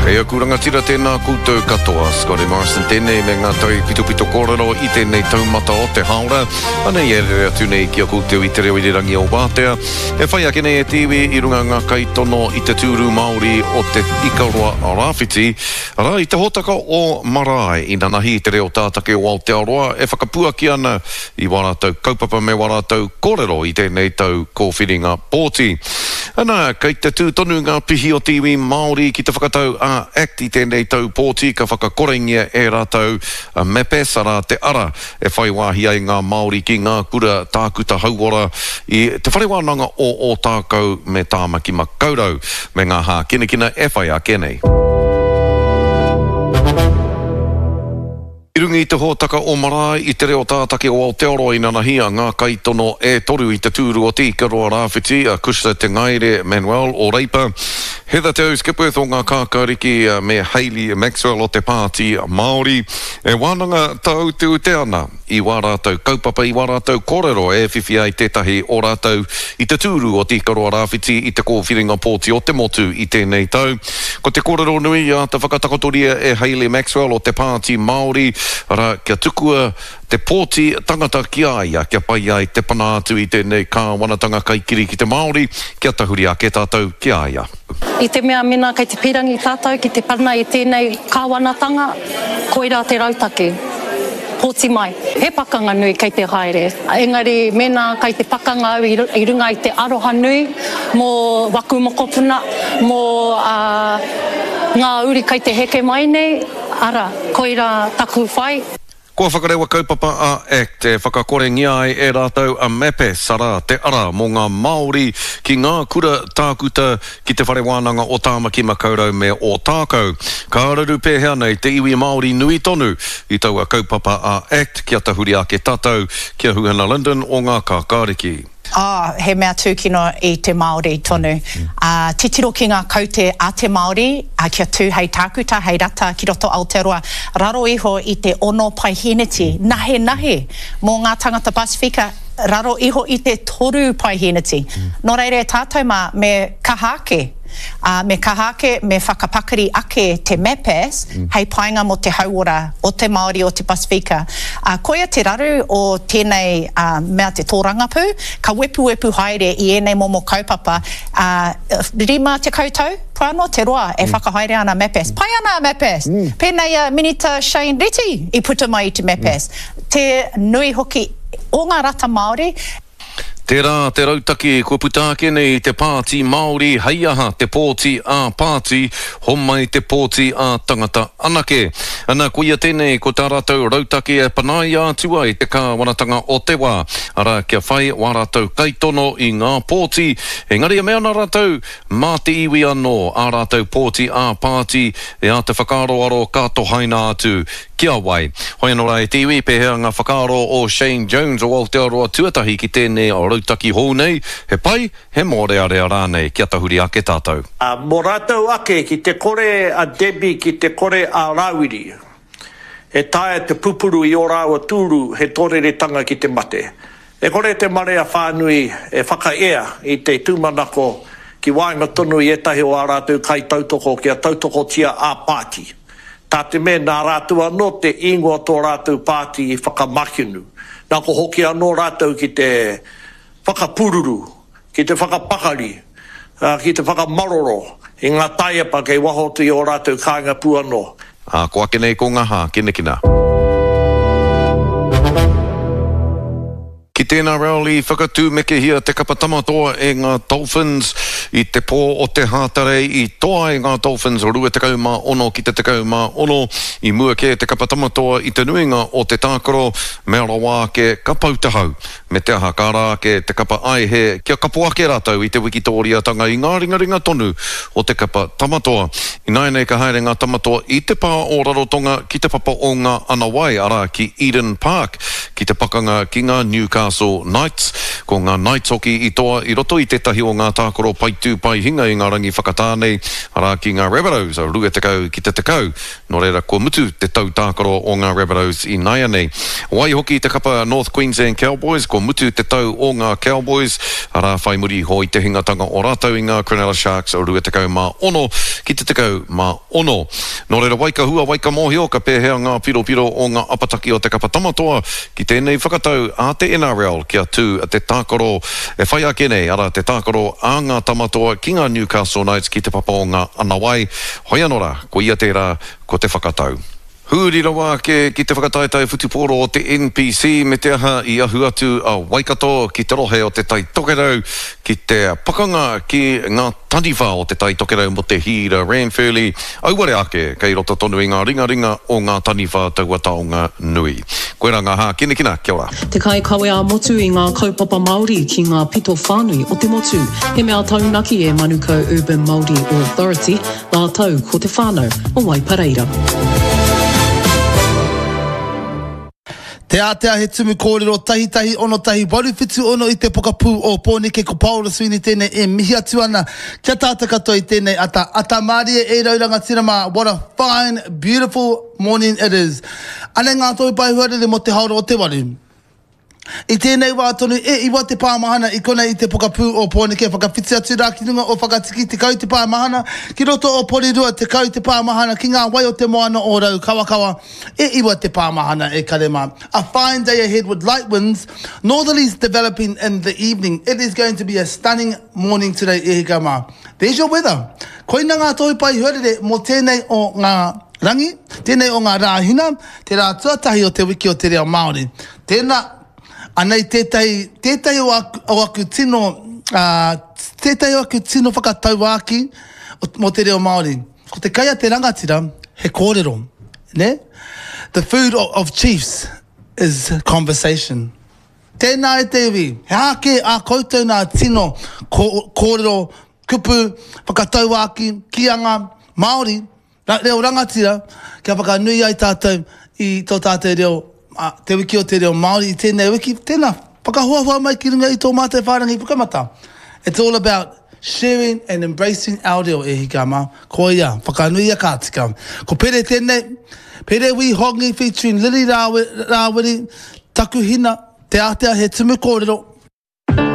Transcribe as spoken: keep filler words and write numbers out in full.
E aku rangatira tēnā koutou katoa. Scotty Morrison tēnei me ngā tau pitopito kōrero i tēnei taumata o te haora. Anei e rere atu nei ki a koutou i te reo irirangi o Wātea. E whai ake nei e te iwi i runga ngā kaitono i te tūru Māori o te Ikaroa Rāwhiti. Arā, i te hōtaka o Marae, inanahi i te reo tātake o Aotearoa e whakapuaki ana i wā rātou kaupapa me wā rātou kōrero i tēnei tau kōwhiringa pōti. Ana, kei te tū tonu ngā pihi o te iwi Māori ki te whakatau a ACT i tēnei tau pōti ka whakakorengia e rātou a MAPAS, arā te ara e whai wāhi ai ngā Māori ki ngā kura tākuta hauora i Te Whare Wānanga o Ōtākou me Tāmaki Makaurau me ngā hākinakina e whai ake nei. I runga i te hōtaka o Marae i te reo tātake o Aotearoa inanahi a ngā kaitono e toru i te tūru o Te Ikaroa Rāwhiti, a Cushla Te Ngaere Manuel o Reipa, Heather Te Skipworth o ngā Kākāriki me Hayley Maxwell o te Pāti Māori. E wānanga tāuteute ana i wā rātou kaupapa, i wā rātou kōrero e whiwhi ai tētahi o rātou i te tūru o Te Ikaroa Rāwhiti i te kōwhiringa pōti o te motu i tēnei tau. Ko te kōrero nui i āta whakatakotoria e Hayley Maxwell o te Pāti Māori, arā, kia tukua te pōti tangata ki a ia, kia pai ai te pana atu i tēnei kāwanatanga kaikiri ki te Māori, kia tahuri ake tātou ki a ia. I te mea mena kei te pīrangi tātou ki te pana i tēnei kāwanatanga, koirā te rautaki. Pōti mai. He pakanga nui kei te haere. Engari mēnā kei te pakanga au i runga i te aroha nui mō waku mokopuna, mō uh, ngā uri kei te heke mai nei, ara, koirā taku whai. Kua whakarewa kaupapa a ACT e whakakorengia ai e rātou a MAPAS, arā, te ara mō ngā Māori ki ngā kura tākuta ki te Whare Wānanga o Tāmaki Makaurau me Ōtākou. Ka raru pēhea nei te iwi Māori nui tonu i taua kaupapa a ACT kia tahuri ake tātou ki a Huhana Lyndon o ngā Kākāriki. Oh, he mea tūkino i te Māori tonu. Uh, titiro ki ngā kaute a te Māori, uh, kia tū hei tākuta, hei rata ki roto Aotearoa, raro iho i te ono paiheneti, nahe nahe, mō ngā tangata Pasifika, raro iho i te toru paiheneti. Mm. Nō reira e tātou mā, me kaha ake. Uh, me kaha ake, me whakapakari ake te MAPAS mm. hei painga mō te hauora o te Māori o te Pasifika. Uh, koia te raru o tēnei uh, mea te tōrangapū, ka wepuwepu haere i ēnei momo kaupapa. Uh, rima tekau tau, pāno te roa e mm. whakahaere ana MAPAS. Pai ana a MAPAS. Mm. Pēnei a Minita Shane Reti i puta mai i te MAPAS. Mm. Te nui hoki o ngā rata Māori. Tērā te rautaki kua puta ake nei te Pāti Māori hei aha te pōti ā pāti, homai te pōti ā tangata anake. Ana, koia tēnei ko tā rātou rautaki e panaia atu ai te kāwanatanga o te wā. Arā, kia whai wā rātou kaitono i ngā pōti, engari e mea ana rātou mā te iwi anō ā rātou pōti ā pāti e āta whakaaroaro ka tohaina atu ki a wai. Hoi anō rā e te iwi, pēhea ngā whakaaro o Shane Jones o Aotearoa Tuatahi ki tēnei rautaki hou nei, he pai, he mōrearea rānei, kia tahuri ake tātou. Uh, mō rātou ake ki te kore a Debbie, ki te kore a Rāwiri, e taea te pupuru i ō rāua tūru he tōreretanga ki te mate. E kore te marea whānui e whakaea i te tūmanako ki waenga tonu i ētahi o ā rātou kaitautoko kia tautokotia ā pāti. Tā te mea nā rātou anō te ingoa tō rātou pāti i whakamakinu. Nā ko hoki anō rātou ki te whakapururu, ki te whakapakari, uh, ki te whakamaroro i ngā taiapa kei waho atu i ō rātou kāinga pū anō. Ā, ko ake nei ko ngā hākinakina. Ki tēnā rally, whakatūmekehia te kapa tamatoa e ngā Dolphins i te pō o te Hātarei i toa ai ngā Dolphins rua tekau mā ono ki te tekau mā ono. I mua kē te kapa tamatoa i te nuinga o te tākaro, mea rawa ake ka pau te hau. Me te aha ka ara ake te kapa aihe kia kapo ake rātou i te wikitōriatanga i ngā ringaringa tonu o te kapa tamatoa. Ināianei ka haere ngā tamatoa i te pā o Rarotonga ki te papa o ngā Anawai, arā ki Eden Park, ki te pakanga ki ngā Newcastle Knights. Ko ngā Knights hoki i toa i roto i tētahi o ngā tākaro pai tū pai hinga i ngā rangi whakatā nei, arā ki ngā Rabbitohs, rua tekau ki te tekau. Nō reira, kua mutu te tau tākaro o ngā Rabbitohs ināianei. Waihoki te kapa North Queensland Cowboys, kua mutu te tau o ngā Cowboys, arā whai muri iho i te hingatanga o rātou i ngā Cronulla Sharks rua tekau mā ono ki te tekau mā ono. Nō reira, wai ka hua, wai ka mōhio, ka pēhea ngā piropiro o ngā apataki o te kapa Tamatoa ki tēnei whakatau a te N R L kia tū te tākaro e whai ake nei, arā te tākaro a ngā Tamatoa ki ngā Newcastle Knights ki te papa o ngā Anawai. Hoi anō rā, ko ia tērā, ko te whakatau. Huri rawa ake ki te whakataetae whutupōro o te N P C me te aha i ahu atu a Waikato ki te rohe o te Tai Tokerau ki te pakanga ki ngā taniwha o te Tai Tokerau mō te hīra Ranfurly. Auare ake kei roto tonu i ngā ringaringa o ngā taniwha taua taonga nui. Koirā ngā hākinakina, kia ora. Te kaikawe ā-motu i ngā kaupapa Māori ki ngā pito whānui o te motu. He mea taunaki e Manukau Urban Māori Authority, rātou ko te whānau o Waipareira. Te ātea he tumu kōrero tahi tahi ono tahi waru whitu ono i te pokapū o Pōneke ko Paora Sweeney tēnei e mihi atu ana kia tātou katoa i tēnei ata. Ata mārie e rau rangatira mā, what a fine, beautiful morning it is. Anei ngā tohu pae huarere mō te haora o te waru. I tēnei wā tonu e iwa te pāmahana i konei i te pokapū o Pōneke whakawhiti atu rā ki runga o Whakatiki tekau te pāmahana ki roto o Porirua tekau te pāmahana ki ngā wai o te moana o Raukawakawa e iwa te pāmahana e kare mā. A fine day ahead with light winds, northerlies developing in the evening. It is going to be a stunning morning today e hika mā. There's your weather. Koina ngā tohu pai huarere mō tēnei o ngā rangi, tēnei o ngā rāhina, te rā tuatahi o te wiki o te reo Māori. Tēnā, anei tētahi, tētahi o aku, o aku tino, uh, tētahi o aku tino whakatauāki mō te reo Māori. Ko te kai a te rangatira, he kōrero, ne? The food of, of chiefs is conversation. Tēnā e te iwi, he ake a koutou nā tino kōrero, kupu, whakatauāki, kīanga, Māori, reo rangatira, kia whakanui ai tātou i tō tātou reo, te wiki o te reo Māori i tēnei wiki, tēnā, whakahoahoa mai ki runga i tō mātou whārangi pukamata. It's all about sharing and embracing our reo e hika mā. Ko ia, whakanui a kātika. Ko Pere tēnei, Pere Wi Hongi featuring Lily Rāwiri, Takuhina, Te Ātea he tumu kōrero,